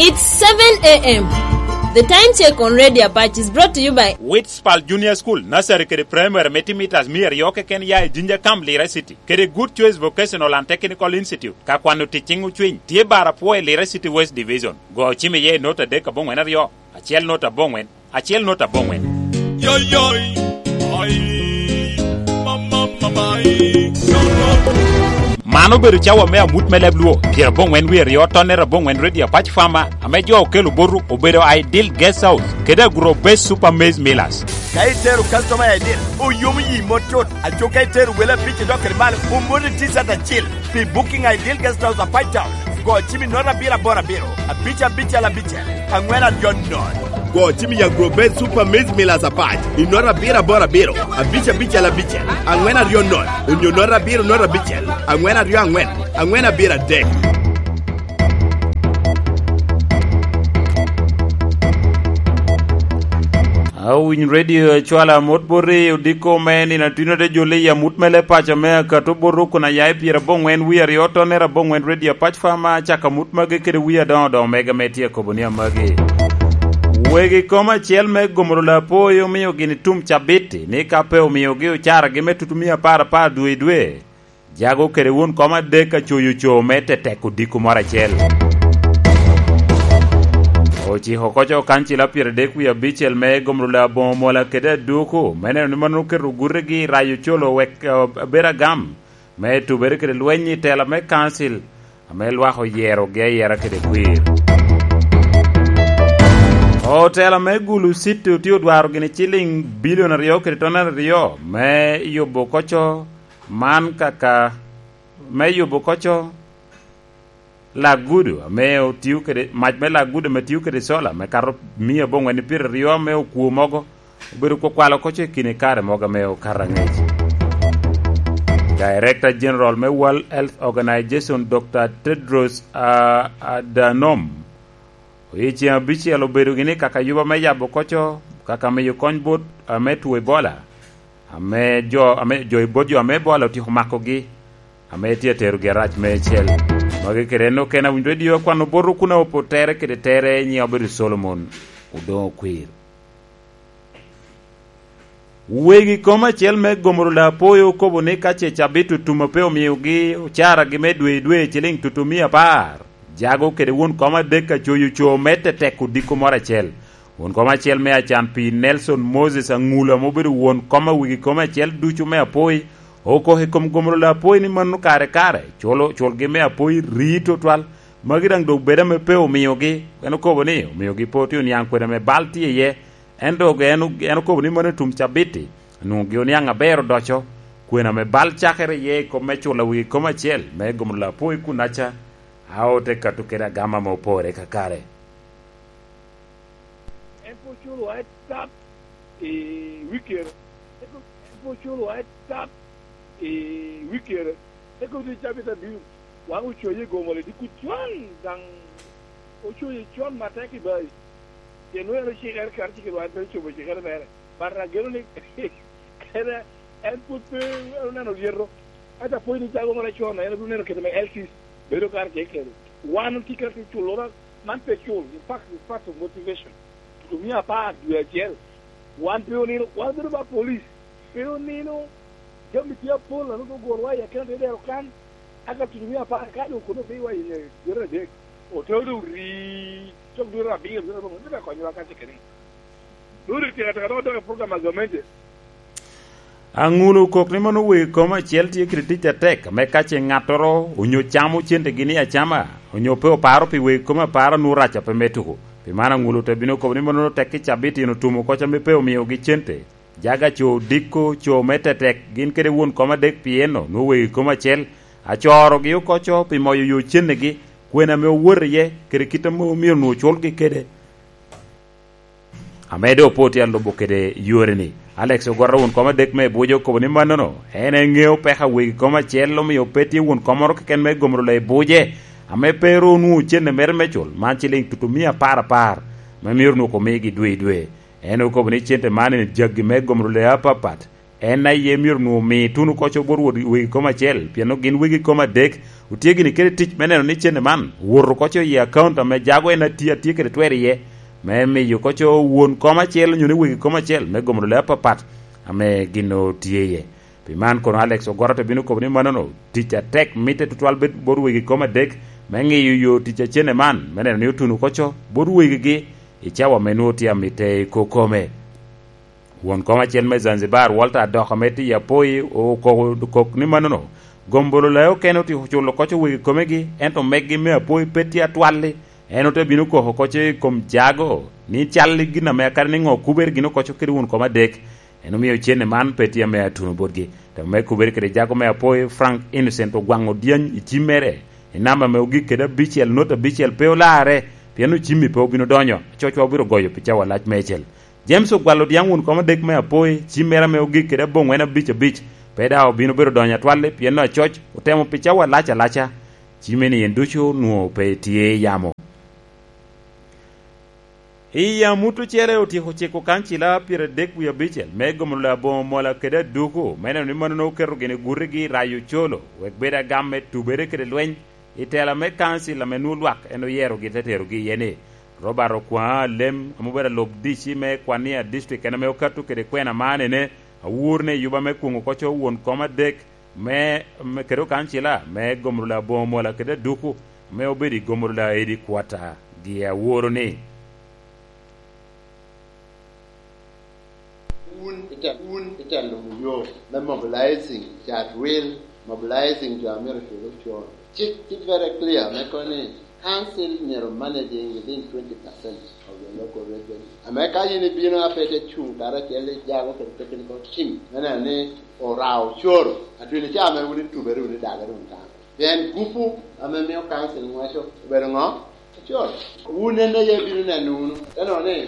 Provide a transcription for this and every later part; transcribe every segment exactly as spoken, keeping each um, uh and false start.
It's seven a m. The time check on Radio Apache is brought to you by Witspal Junior School, Nursery kede Primary me timitas mia aryo keken ya i Jinja Camp, Lira City, kede Good Choice Vocational and Technical Institute, ka kwano tic ciŋ ocwiny, tye bar apwo i Lira City West Division. Go ocim iye i nota adek aboŋwen aryo, acel nota aboŋwen, acel nota aboŋwen. Yoi, yoi. Ai. Ma, ma, ma, ma, ai. No, no. Man obedo cawa me amut me leb Luo, pyeraboŋwen wie aryo, tonner aboŋwen, Radio Apache Farmer, ame jo okelo boto, obedo Ideal Guest House, kede Agro Base Super Maize Millers. Ka itero customer i Ideal, oyomo yi mot cut. Aco ka itero wele abic idok kede malo, omoti T-shirt acil. Pi booking a Ideal Guest House Apac Town, go cim i nota abiro aboro abiro, abic abicel abicel, aŋwen aryo nono. Go cim i Agro Base Super Maize Millers Apac i nota abiro aboro abiro, abic abicel abicel, aŋwen aryo nono, onyo nota abiro nota abicel, aŋwen aryo aŋwen, aŋwen abiro adek. Awiny Radio acwala amot bot i odiko me nino atwino de joli i amut me le paco me akato bot rukun aya i pyeraboŋwen wie aryo tonner aboŋwen Radio Apac Farmer acako amut magi kede wie adoŋo doŋo mega me tye akobo ni amagi. Wegi kom acel me gomoro lapoyo omio gini tum cabiti ni ka pe omiogi ocaragi me tutumia apar apar dwe i dwe, jago kede wun kom adek a coyo co me tetek odiko moro acel. Ociko koco kancil apyero adek wie abicel me gomro aboŋo mola kede aduku, me neno ni mano oketo gutegi i rayo colo wek, eh, bedo agam, me tubere kede lweny i tela me kancil, ame lwak oyerogi ayera kede kwir. Otela me Gulu City otye odwaro gini ciliŋ bilion aryo kede tonere aryo me yubo koco man kaka me yubo koco lagudo ame otio kede, mac me lagudo ame tio kede sola me kato mia aboŋwen pyeraryo ame okwo mogo obedo kwakwalo koco i kine kare mogo ame okato angec. Director General me World Health Organization, Doctor Tedros, ah, Adhanom, oye ceŋ abicel obedo gini kaka yuba me yabo koco, kaka miyo kony bot, ah, me two Ebola, ame jo, ame jo i bot jo ame Ebola otyeko makogi, ame tye aterogi arac meicel. Magi kede en okene awinyo redio akwano bot okuna opo tere kede tere nyiŋe obedo Solomon Odoŋo Kwir. Wegi kom acel me gomoro lapoyo okobo ni ka ce cabit otum a pe omiogi ocaragi me dwe i dwe ciliŋ tutumia apar, jago kede won kom adek a coyo co me tetek odiko moro acel. Won kom acel me acan pi Nelson Moses Aŋulo ame obedo won kom a wegi kom acel ducu me apoi, okok i kom gomoro lapoyo ni mano kare kare culo culgi me apoi rii tutwal. Magi daŋ doŋ bedo ame pe omiogi, en okobo ni omiogi pe otye oniaŋ kwede ame bal tye iye. En dok en, en okobo ni mano i tum cabit-ti, onwoŋo gin oniaŋ aber odoco, kwena ame bal cakere iye i kom me culo wegi kom acel me gomoro lapoyo i kunaca, a ote kato kede agama ame opore kakare. En pe oculo wa tap i wikere. En pe oculo wa tap i wikere. Eka otye cabit abino, wan ocoye i gomoro i dikut con, daŋ ocoye con atek i bayi. Pien nwoŋo en ocikere kare cik i lwak, pe ocobo cikere mere. But ageno ni kede en pwod pe oneno lyeto. Ento apwony ni jago mere con, en obino neno kede me L Cs. Bedo kare tye kede. Wan otye kede culo, man pe cul. In fact, it's part of motivation. Tutumia apar dwe acel. Wan pe onino, wan bedo ba police. Pe onino, jami tye apol, anu dok ogurwa i akina te dero kan. Aka tutumia apar ka dok kono pe wa i nge dwete adek. Ote dok ri, cok dwete abiro, dwete abiro, dwete akonyowa ka cike ni. Dwete teka teka dok dok i program a gamente. Aŋulo okok ni mano wegi kom acel tye kede tic atek, ame ka ce ŋattoro onyo camo centegi ni acama, onyo pe oparo pi wegi kom apara nwoŋo rac a pe me tuko. Pi man Aŋulo te bino okobo ni mano tek i cabit in otumo koc ame pe omiogi cente. Jaga co odiko, co me tetek, gin kede won kom adek pi eno nwoŋo wegi kom acel, acorogi okoco pi moyo yo cennegi, kwena ame owoto iye, kede kit ame omyero nwoŋo culgi kede. Ame doŋ opo tye alubo kede yore-ni. Alex Ogwata won kom adek me Abuja okobo ni mannono, en eŋeo peko a wegi kom acel omio pe tye won kom moro keken me gomoro loyo Abuja, ame pe ru onwoŋo cente mere me cul, man ciliŋ tutumia apar apar, ame myero onwoŋo omigi dwe i dwe. En okobo ni cente man en jaggi me gomoro loyo apapat, En aye myero onwoŋo omi tuno koco bot wegi kom acel, pien gin wegi kom adek otye gini kede tic me neno ni cente man owoto koco i akaunt ame jago en atye atye kede twer iye, me miyo koco won kom acel onyo ni wegi kom acel me gomo lule apapat ame gin otye iye. Pi man kono Alex Ogoro te bino kobo ni mannono tic atek mitte tutwal bed bot wegi kom adek me ŋiyo yo tic a cente man me neno ni otuno koco bot wegigi i cawa ame nwoŋo tye amitte i kokome. Won kom acel me Zanzibar, Walter Adok ame tye i Apoi, okoko kok ni mannono, gombolola okene otyeko culo koco wegi komegi, ento meggi me Apoi pe tye atwalli. En ote bino koko koco i kom jago ni cal i gin ame akadi ni ŋo kubere gin okoco kede won kom adek. En omio cene man pe tye ame atuno botgi. Temo me kubere kede jago me Apoi, Frank Innocent ogwaŋo dyany i cimmere i namba ame ogik kede abicel, not abicel pe olarre, pien ocimmi pe obino donyo, acocwa obiro goyo pi cawa lac meicel. James ogwalo dyang won kom adek me Apoi, cimmere ame ogik kede aboŋwen abic abic, pe daŋ obino bedo donyo atwalli, pien acoc otemo pi cawa lac alaca. Cimme-ni en ducu onwoŋo pe tye i yamo. I amut ocele otyeko ciko kancila pyeradek wie abicel me gomo lula aboŋo mola kede aduku, me neno ni mano oketo gini gutigi i rayo ocolo, wek bed agam me tubere kede lweny, i tela me kancil ame nwoŋo lwak en oyerogi te terogi iye ni, Robert Okwaŋ Alem, ame obedo alub D C me Kwania District, en ame okato kede kwena man ene, awor ni yuba me kwoŋo koco won kom adek me, me kede okancila me gomo lula aboŋo mola kede aduku, ame obedo i gomo lula edi kwata gi aworo ni. Wun ite-, wun itelo yo me mobilizing cat wil, mobilizing jo a myero ocul ocur. Cik tye very clear me kono ni council myero managing within twenty percent of the local revenue. Ame ka yin ibino a pe ite cuŋ karacel i jago kede technical team me neno ni orao ocoro, atwini ca ame wun itubere wun idagere wun kan. Pien gupu ame mio council ŋweco obedo ŋo? Acol. Wun en aye ibino neno wunu, te neno ni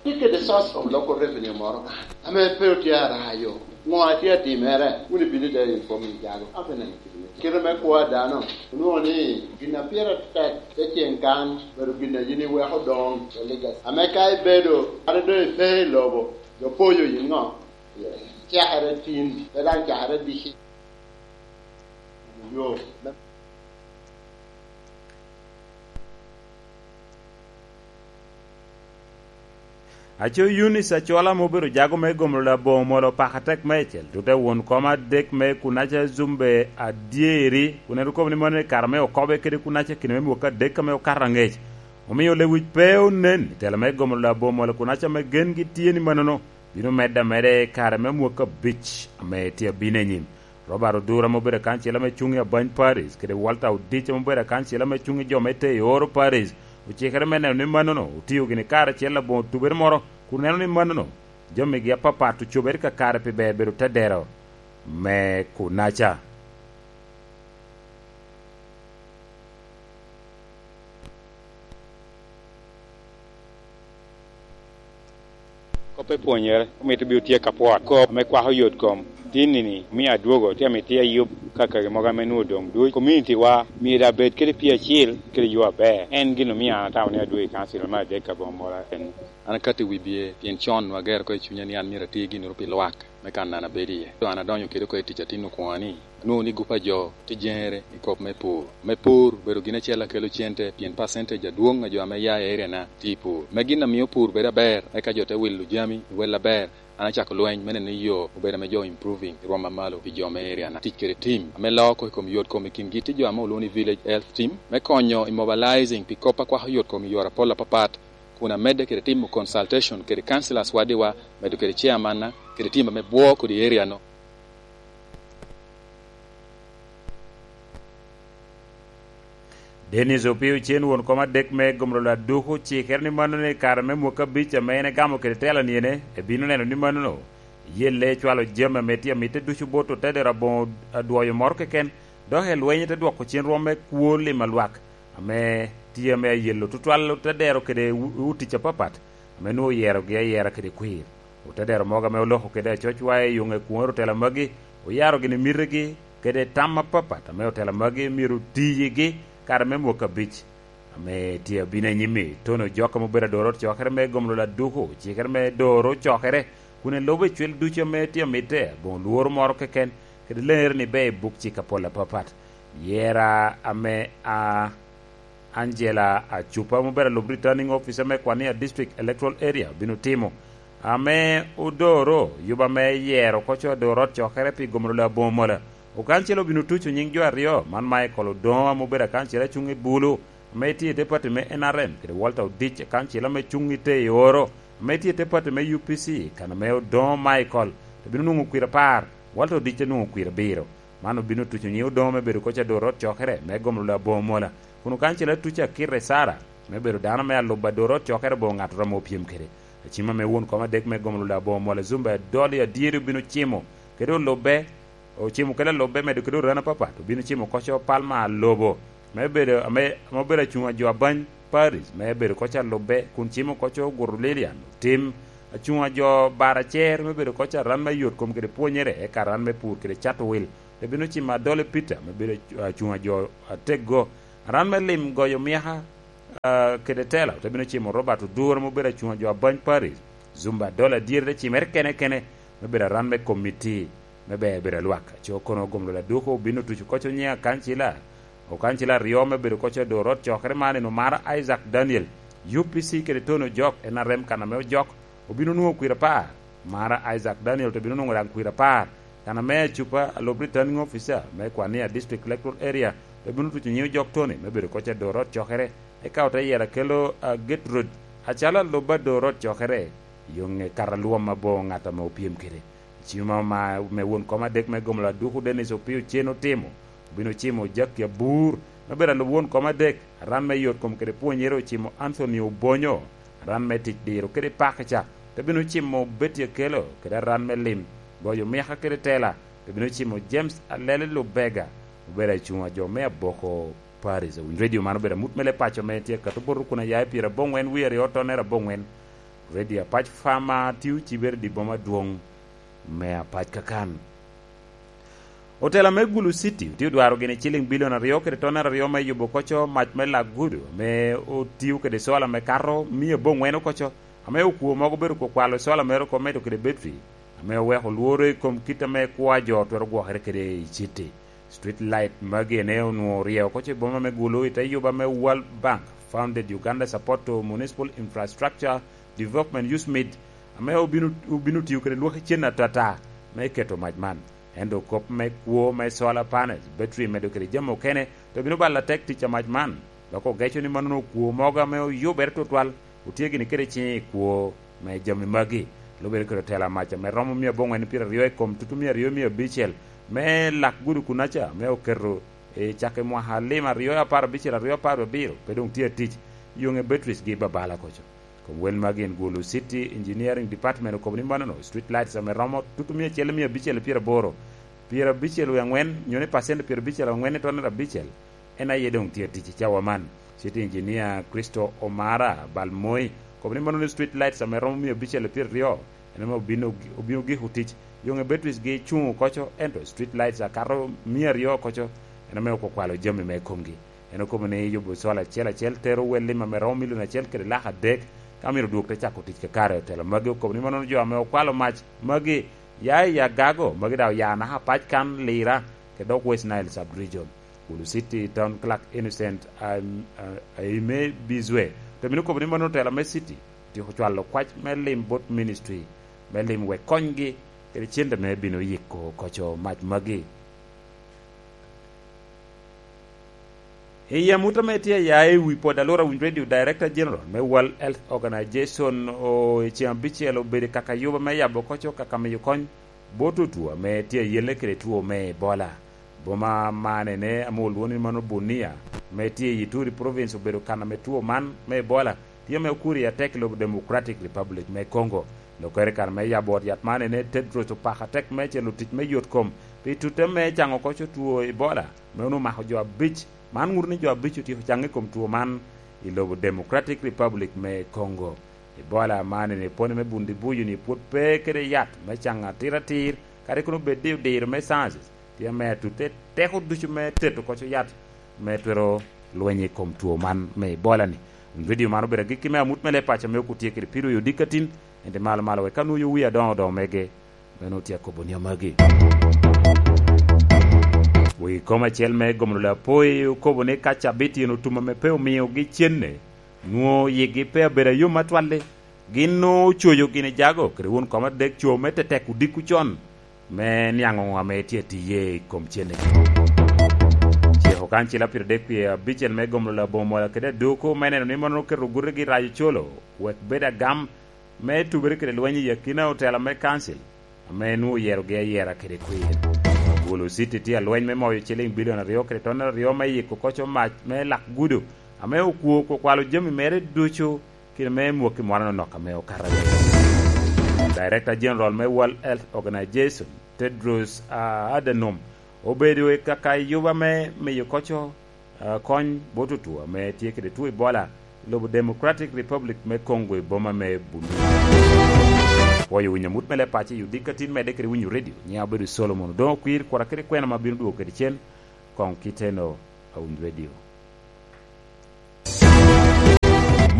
tye kede source of local revenue moro kan ame pe otye arayo. Ŋo a tye atimere? Wun ibino ite informing jago. Ape neno kite me, kite me kwo a dano. Onwoŋo ni gin a pire tek te cen kan, obedo gin a yin iweko doŋ, the legacy. Ame ka ibedo, kadi doŋ ipe i lobo, jo poyo yin ŋo? Cakere tin, pe daŋ cakere dici. Yo me Aco Yunis Acola ame obedo jago me gomo lula aboŋo molo paka tek meicel, tute won kom adek me Kunaca Zumbe adyeri, kun en okobo ni mano i kare me okobe kede Kunaca kine me mwaka adek ame okato aŋec. Omio lewic pe onen i tela me gomo lula aboŋo molo Kunaca ame gengi tye ni manono bino medde ameda i kare me mwaka abic ame tye abino i nyim. Robert Odura ame obedo akancel ame cuŋ i Abany Parish, kede Walter Odich ame obedo akancel ame cuŋ i jo me Teyo Oro Parish, ocikere me neno ni mannono otio gini kare acel aboŋo tubere moro, kun neno ni mannono jamigi apapat ocobere kakare pi ber bedo tedero me Kunaca. Kop me pwonyere omito bino tye ka pwot kop ame kwako yot kom. Tin-ni ni, omio adwogo tye amito tye ayub kakagi mogo ame nwoŋo doŋ duc. Community wa myero abed kede pii acil kede yo aber. En gin omio an atamo ni adwogo i kancil me adek aboŋo mola en. An akatti wi bye, pien con nwoŋo agero oko i cunya ni an myero ati ginnoro pi lwak me kan an abedo iye. Doŋ an adonyo kede oko i tic atin okwoŋo ni, anwoŋo ni gup a jo tye jeŋere i kop me pur. Me pur obedo gin acel a kelo cente, pien percentage adwoŋ a jo ame ya i area na tye i pur. Me gin a mio pur bedo aber, eka jo te wilo jami i wel aber, an acako lweny me neno ni yo obedo ame jo improving i rwom mamalo pi jo me area na. Tic kede team ame loo oko i kom yot kom i kingi tye jo ame olwoŋo ni village health team, me konyo i mobilizing pi kop a kwako yot kom i yore apol apapat, kun amedde kede timo consultation kede councillors wadiwa, medo kede chairman na, kede team ame bwo kodi area no. Dennis Opio Cen, won kom adek me Gomrolo Aduku, ocikere ni mano ni kare me mwaka abic ame en egamo kede tela niene, ebino neno ni manono yelle cwalo jami ame tye amitte ducu bot otedero aboŋo adwoyo moro keken, dok elweny te dwoko cen rwom me kwo lim a lwak ame tye ame ayelo tutwal otedero kede u-, utic apapat ame nwoŋo oyerogi ayera kede kwir. Otedero mogo ame oloko kede acocwa i yo ŋe kwoŋere otela magi, oyaro gini mitegi kede tam apapat ame otela magi myero otiyigi kare me mwaka abic ame tye abino anyim-mi. Tony Ojok ame obedo adoro cokere me Gomrolo Aduku, ocikere me doro cokere kun elubo icwil ducu ame tye amitte, aboŋo lworo moro keken, kede leŋere ni ber i buk cik apol apapat. Yera ame a Angela Acupa, ma obedo alub Returning Officer me Kwania District Electoral Area, obino timo, ame odoro yuba me yero koco ador ot cokere pi gomoro la aboŋo mola. Okancil obino tuco nying jo aryo, man Michael Odongo, ame obedo akancil acuŋ i Bulu, ame tye i te pati me N R M, kede Walter Odic, akancil ame cuŋ i te i oro, ame tye i te pati me U P C, kan ame Odongo Michael, te bino nwoŋo kwir apar, Walter Odic te nwoŋo kwir abiro. Man obino tuco nyiŋ Odongo me bedo koc ador ot cokere me gomolo aboŋo mola, kun okancel atuco akite Sara me bedo dano me alubo ador ot cokere aboŋo ŋattoro ame opyem kede. Acima me won kom adek me gomolo aboŋo mola, Zumba Adoli Adyeri obino cimo kede olubbe, ocimo kede alubbe medo kede orani apapat, obino cimo koco Palma Alobo me bedo ame, ame obedo acuŋ a jo abany Paris me bedo koc alubbe, kun cimo koco Ogutu Lilian Otim, acuŋ a jo Baracer me bedo koc aran me yot kom kede pwonyere, eka aran me pur kede cato wil. Te bino cimo Adole Peter me bedo acu-, acuŋ a jo ateggo, aran me lim goyo myaka, ah, kede tela. Te bino cimo Robert Odur me bedo acuŋ a jo abany Paris. Zumba Adole Adyeri te cimere kene kene me bedo aran me komiti me ber bedo a lwak. Aco kono gomlo laduko obino tuco koc onyiŋ akancila, okancila aryo me bedo koc ador ot cokere man en Omara Isaac Daniel, U P C kede Tony Ojok, N R M kan ame Ojok, obino nwoŋo kwir apar. Omara Isaac Daniel te bino nwoŋo daŋ kwir apar. Kan ame Acupa, alub Returning Officer me Kwania District Electoral Area, te bino tuco nyiŋ Ojok Tony me bedo koc ador ot cokere, eka ote yero Akello, ah, Gertrude acalo alub ador ot cokere, yoŋe kato alwom aboŋo ŋat ame opyem kede. Cima ma, me won kom adek me gomolo aduku Dennis Opio Cen otimo, obino cimo Jackie Abur me bedo alub won kom adek. Aran me yot kom kede pwonyere ocimo Anthony Obonyo, aran me tic diro kede pakica. Te bino cimo Betty Akello kede aran me lim, goyo myaka kede tela. Te bino cimo James Alele Lubega, obedo acuŋ a jo me aboko Paris. Owiny redio man obedo amut me le paco me tye akato boto kun aya i pyera aboŋwen wie aryo tonnere aboŋwen. Redio Apac Fama tye ocibere i dye boma adwoŋ me Apac kakan. Otela me Gulu City tye odwaro gini ciliŋ bilion aryo kede tonnere aryo me yubo koco mac me lak gudo ame otio kede cola me kato mia aboŋwen okoco, ame okwo mogo obedo kwakwalo cola mere oko medo kede betri, ame oweko lworo i kom kit ame kwo a jo twero gwokere kede i citi. Street light magi ene onwoŋo oryeyo oko i boma me Gulu i te yuba me World Bank Funded Uganda Support to Municipal Infrastructure Development, USMID, ame obino, obino tiyo kede lwaki cen atata me keto mac man. Ento kop me kwo me solar panels, battery medo kede jami okene, to bino balo atek tic a mac man, dok ogeco ni mannono okwo mogo ame oyubere tutwal otye gini kede ciŋ i kwo me jami magi. Lubere kede otela mac ame romo mia aboŋwen pyeraryo i kom tutu mia aryo mia abicel me lak gudo kunaca, me oketo i cak i mwaka lim aryo apar abicel, aryo apar abiro, pe doŋ tye atic. Yoŋe batteries gi babala koco. Kom wel magi en Gulu City Engineering Department okobo ni mannono, street lights ame romo tutu mia acel mia abicel pyeraboro, pyerabicel wie aŋwen, nyo ni pacent pyerabicel aŋwen i tonnere abicel, en aye doŋ tye atic i cawa man. City Engineer Christo Omara Balmoi okobo ni mannono street lights ame romo mia abicel pyeraryo, en ame obino, obino giko tic. Yoŋe batteries gi cuŋ okoco, ento street lights akato mia aryo okoco, en ame okwakwalo jami me komgi. En okobo ni yubo cola acel acel tero wel lim ame romo milion acel kede lak adek, ka myero odwog te cako tic kakare. Otelo magi okobo ni mannono jo ame okwalo mac magi ya i Agago, magi daŋ oya naka Apac kan, Lira, kede dok West Nile Sub-Region. Gulu City Town Clerk Innocent Am-, A-, Aime Bizwe te bino kobo ni mano otela me city otyeko cwalo kwac me lim bot ministry me lim wek konygi kede cente me bino yiko koco mac magi. I amut ame tye aya i wi pwod alura Winy Radio, Director General me World Health Organization o i ceŋ abicel obedo i Kakayuba me yabo koco kaka miyo kony bot otwo ame tye ayelle kede two me Ebola. Boma man ene ame olwoŋo ni mano Bunia, ame tye i Ituri Province, obedo kan ame two man me Ebola tye ame okuri atek i lobo Democratic Republic me Congo. Lokere kan me yabo ot yat man ene Tedros opako atek meicel otic me yot kom pi tutte me caŋo koco two Ebola, me onwoŋo omako jo abic. Man ŋuto ni jo abic otyeko caŋ i kom two man i lobo Democratic Republic me Congo. Ebola man ene pwony me bundi buyo ni pwod pe kede yat me caŋo atir atir, kadi kono bed ni odiro me sciences tye ame atutte teko ducu me teto koco yat me twero lweny i kom two man me Ebola ni. Radio man obedo agikki me amut me le paco me okutye kede Piru Yodikatin, Ento malo malo wek ka nwoyo wi adoŋo doŋo mege, meno otye akobo ni amagi. Wi kom acel me gomolo lapoi okobo ni ka cabit yen otum ame pe omiogi cenne, nwoŋo yigi pe abedo ayom atwalli. Gin nwoŋo ocoyo gini jago kede won kom adek co me tetek odiko con me niaŋ oŋo ame tye atiye i kom cennegi. Ciko kancil apiro dek pye abicel me gomolo labongo mola kede adoko me neno ni mono oketo gutegi rayo colo wek bed agam me tubere kede lweny i akina otela me kancil ame nwoŋo oyerogi ayera kede kwir. Gulu City tye alweny me moyo ciliŋ bilion aryo kede ton aryo me yiko koco mac me lak gudo ame okwo kwakwalo jami mere ducu kit me mwaki mwana nonok ame okato aryo. Director General me World Health Organization, Tedros ah, Adhanom, obedo i kaka yuba me miyo koco ah, kony bot otwo ame tye kede two Ebola i lobo Democratic Republic me Congo i boma me Bunia. Pwoyo winyo amut me leb paco i odiko atin medde kede winyo redio. Nyiŋa obedo Solomon Odoŋo Kwir, kura kede kwena ma bino dwogo kede cen koŋ kiteno a winyo redio.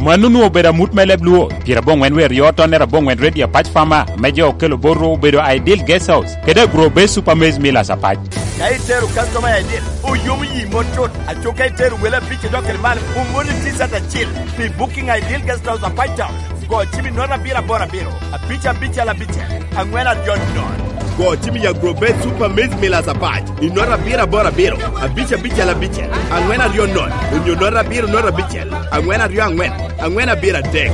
Mano onwoŋo obedo amut me leb Luo, pyerabongwen wer yo tonnere abongwen redio apac Fama, me jo okelo bot ru obedo Ideal Guest House, kede Agro Base Super Maize Millers apac. Ka itero customer Ideal, oyomo yi mot cut, aco ka itero wele abic idok kede malo, omoni T-shirt acil. Pi booking Ideal Guest House apac Town, go cim i nota abiro aboro abiro, abic abicel abicel, angwen aryo nono. Go cim i Agro Base Super Maize Millers apac, i nota abiro aboro abiro, abic abicel abicel, angwen aryo nono, onyo nota abiro nota abicel, angwen aryo angwen, angwen abiro adek.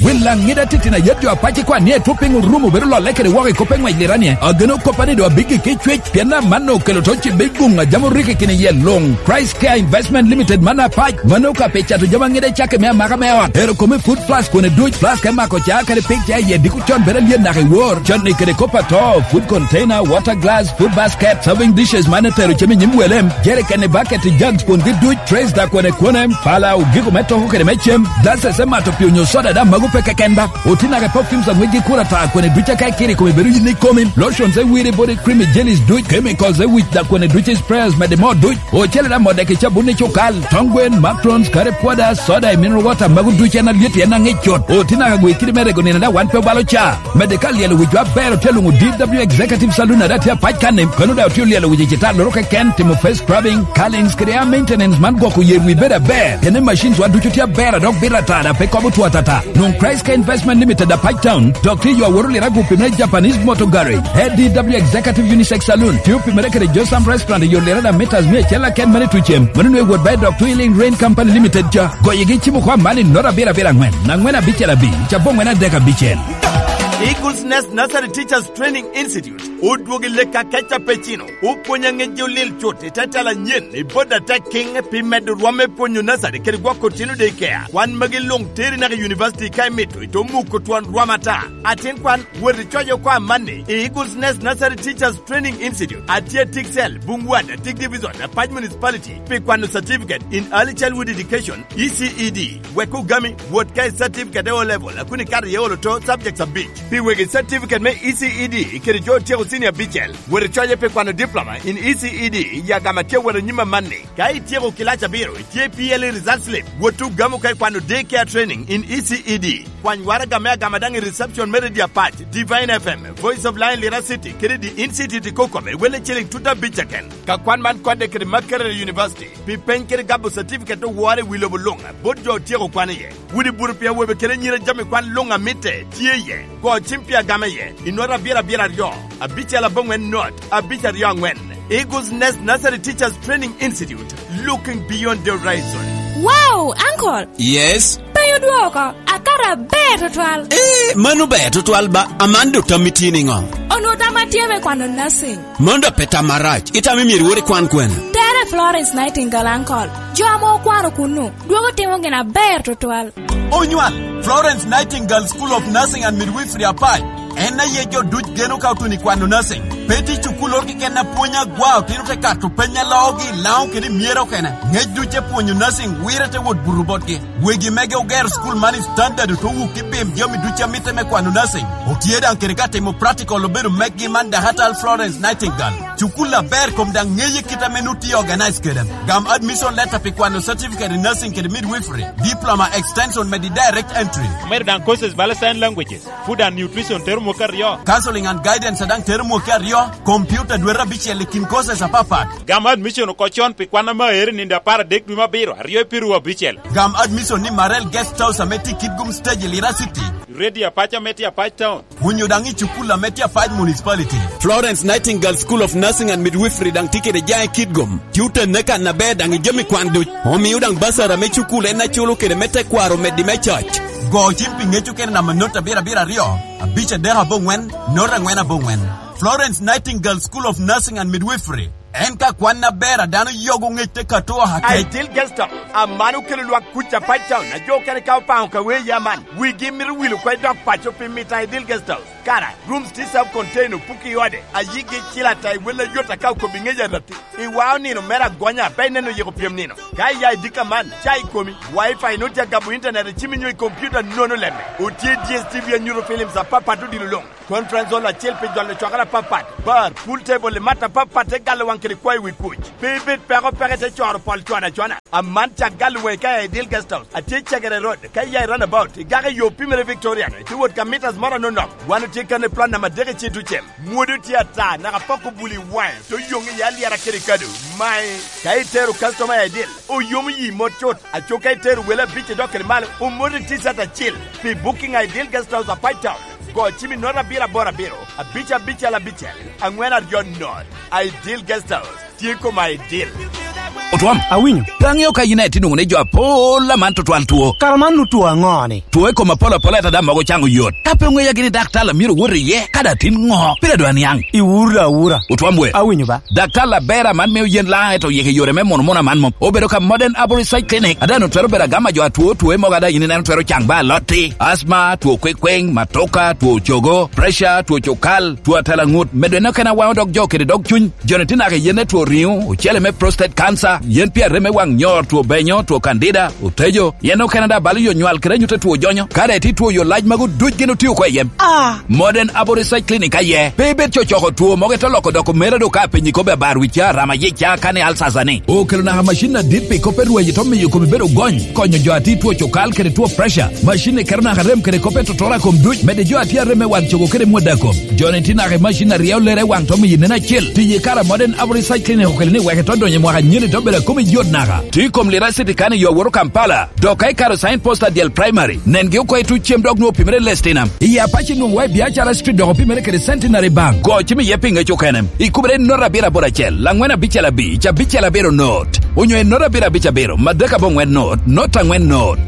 Wil Laŋida titino ayet jo apac ikwan ni etwo piny orumo bedo lolle kede woko i kop eŋwec liranie. Ageno koppa ni doŋ abiggi ki cwec, pien amanno okelo to cibbe i guŋ a jam orikki kine iye luŋ. Christ Care Investment Limited man apac, mano ka pe cato jami aŋida i cakke me amaka me ot. Ero kome food flask kone duc, flask me mako ca kede pik ca iye diko con bedo alyet naka i wor. Con ni kede kop ato, food container, water glass, food basket, serving dishes man etero cem i nyim wele, jerrycan i bucket i jugs kwongi duc, trays da kone kone, pala ogiko me toko kede me cem, glasses me mato pi onyo soda da mago pe keken ba. Oti naka i perfumes aŋwec gi kura ta kone duc aka ikiro i kome bedo yin ikomi, lotions e wiri body cream i jellies duc, chemicals e wic da kone duc i sprayers mede mo duc. Ocele da modde ki cabun i cukal, tong gwen, macrons, curry powder, soda i mineral water mago duc en alyet en aŋic cut. Oti naka gwe kidi me rego nino da wan pe obalo ca. Mede ka lyelo wic wa ber otye luŋo D W Executive Saloon ada tye apac kan-ni, kono da otye olyelo wic i cita loro keken, timo face scrubbing, curlings kede hair maintenance man gwoko yer wi bedo aber. Pien ni machines wa ducu tye aber a dok bito atata pe kobo two atata. Nwoŋ Christ Care Investment Limited apac town, dok tye yo aworo lira gupi me Japanese Motor Garage, A D W Executive Unisex Saloon, tye opimere kede Josam Restaurant i yo lira da meters mia acel aken mani tucem. Mano nwe wot ba i dok Twilling Rain Company Limited ca. Goyegi cimo kwa mani nota abiro abiro angwen, angwen abicel abic, ca bongwen adek abicel. Eagles Nest Nursery Teachers Training Institute odwogo i lek akeca pe cino, opwonyo aŋec jo lil cut i te tela anyen i bot atek kiŋ pi medo rwom me pwonyo nursery kede gwoko tino daycare. Kwan magi luŋ teri naka i university ka imito, ito muko twon rwom ata. Atin kwan, wot icoc oko amanni i Eagles Nest Nursery Teachers Training Institute, atye Tiksel, Bungwad, Tik Division, Apac Municipality, pi kwano certificate in early childhood education, E C E D. Wek ogami, wot ka i certificate e O level, a kun ikato iye olo to subjects abic. Pi wegi certificate me E C E D kede jo otyeko senior abicel, wot icoye pi kwano diploma in E C E D i agama tye wot anyim amanni. Ka ityeko kilac abiro, itye P L E result slip, wot ogamo ka ikwano day care training in E C E D. Kwany waraga me agama daŋ i reception me Radio Apac, Divine F M, Voice of Lion Lira City, kede The Institute i Kokome, welle ciliŋ tut abic keken. Ka kwan man kodde kede Makerere University, pi peny kede gabo certificate owore i wi lobo luŋ, bot jo otyeko kwan iye. Wudi buru pi awobe kede anyira jami kwan luŋ a mitte tye iye. Go cim pi agama iye, i nota abiro abiro aryo, abicel abongwen not, abic aryo angwen. Eagles Nest Nursery Teachers Training Institute, looking beyond the horizon. Wow, uncle! Yes? Penyo dwoko, akato aber tutwal. Eh, mano ber tutwal ba, aman do tammi tye niŋo? Onwo tamma tye me kwano nursing. Mano da pe tam marac, itamo myero iwor ikwan kwene? Tere Florence Nightingale, uncle. Jo ame okwano kunnu, dwogo timo gin aber tutwal. Onywal, Florence Nightingale School of Nursing and Midwifery Apac, en aye jo duc geno ka otuno i kwano nursing. Pe tye cukul oro keken a pwony agwa, otino te kato peny a loogi i Laŋo kede i Myero okene. Ŋec duc te pwonyo nursing, wire te wot buto botgi. Wegi mege ogero cukul man i standard oto wuk i bim jami duc a mitte me kwano nursing. Otye daŋ kede ka timo practical obedo meggi man Dakatal Florence Nightingale. Cukul aber kom daŋ ŋeye kit ame nu tye organize kede. Gam admission letter pi kwano certificate in nursing kede midwifery, diploma extension medi direct entry. Omedo daŋ courses bala sign languages, food and nutrition tero mwaka aryo. Counseling and guidance a daŋ tero mwaka aryo, computer dwete abicel i kin courses apapat. Gam admission oko con pi kwan ame aero i nino apar adek dwe me abiro, aryo i piru abicel. Gam admission ni Marel Guest House ame tye i Kitgum Stage i Lira City. Radio Apac ame tye Apac Town. Onyo daŋ i cukul ame tye Apac Municipality. Florence Nightingale School of Nursing and Midwifery daŋ tye kede jaŋ i Kitgum. Tye otenne kan aber daŋ i jami kwan duc. Omio daŋ basar ame cukul en aculo kede me tekwaro meddi me coc. Go cim pi ŋec okene namba not abiro abiro aryo, abic adek aboŋwen, not angwen aboŋwen. Florence Nightingale School of Nursing and Midwifery. En ka kwan aber a dano yogo ŋec te kato oha kec. Ideal Guest House, aman okelo lwak kuc Apac Town, a jo okene ka opaŋo ka wee ya man. Wigi mito wilo oko i dog paco pi mito Ideal Guest House. Kara, rooms tye self contained, opuki i ode, a yigi cil ata i wel ayot aka okobi ŋec arati. I wa onino mere agonya, pe ineno yiko pyem nino. Ka iya i dika man, ca i komi, Wi-Fi nut ya gabo internet i cimi nyo i computer nono lemme. Otye D S T V anyuto films apapat odilo luŋ. Conference hall acel pi jolo cwakere apapat, bar, pool table i mat apapat te galo waŋ kede kwayo wi kuc. Pe ibed peko peke te coro pol cwano acwana. Aman cak galo waŋi ka i Ideal Guest House, atye i Cegere Road, ka iya i roundabout, igako i yo pimere Victorian, ite wot ka meters moro anonok. Wan otye kan i plan namba adek i Citucem. Mwodo tye ata, naka poko bul i waŋe, te oyoŋ iye alyera kede kado. Mae, ka itero customer i Ideal, oyomo yi mot cut. Aco ka itero wele abic idok kede malo, omoti T-shirt acil. Pi booking a Ideal Guest House Apac Town, go cim i note abiro aboro abiro, abic abicel abicel, angwen aryo not. Ideal Guest House, tye kom Ideal. Otwom. Awinyo. Pe aŋeo ka yin aye tye nwoŋo ni jo apol aman tutwal two. Kara man nu two aŋo ni? Two i kom apol apol ata daŋ mogo caŋo yot. Ka pe oŋeya gini daktar a myero wot iye, kadi atin ŋo? Pire dwa niaŋ. Iwura awura. Otwom we. Awinyo ba. Daktar aber aman mio yen Laŋo ento oyiko i yore me muno muno aman mom. Obedo ka Modern Arborist Side Clinic, a daŋ twero bedo agama jo atwo, two mogo a daŋ yin ineno twero caŋ ba alotti, asma, two kwekweŋ, matoka, two cogo, pressure, two cukal, two atalaŋut, medo en okene a waŋo dog jo kede dog cuny. Joni tye naka i yen me two riŋo, ocele me prostate cancer, yen pi arem me waŋ nyor, two benyo, two candida, otejo, yen okene daŋ balo yo nywal kede anyut a two jonyo. Ka daŋ itye two yo lac magu duc gin otio oko i yem. Ah! Modern Arborist Side Clinic aye. Pe ibed cocoko two mogo ite loko doko mere do ka apenyi kobbi abar wicca, rama yica, kani alsasa ni. Okelo naka macin adit pi kop me rweyo to miyo komi bedo gony, konyo jo a tye two cukal kede two pressure. Macin ni keto naka rem kede kop me totora kom duc, mede jo a tye arem me waŋ cogo kede mwada kom. Joni tye naka i macin a ryeo lere i waŋ to miyo nen acel. Tiyo i kare a Modern Arborist Side Clinic okelo ni wek ito donyo i mwaka anyeni to bedo a komi yot naka. Tye i kom Lira City kani yo awoto Kampala. Dok ka ikaro sign post adyel primary, nengi oko i tuc cem dok nwoŋo opimere i Lestinam. I Apac inwoŋo wa i Biacara Street dok opimere kede Centenary Bank. Go cim iye pi ŋec okene. Ikubere i not abiro aboro acel, angwen abicel abic, abicel abiro not. Onyo i not abiro abic abiro, madek abongwen not, not angwen not.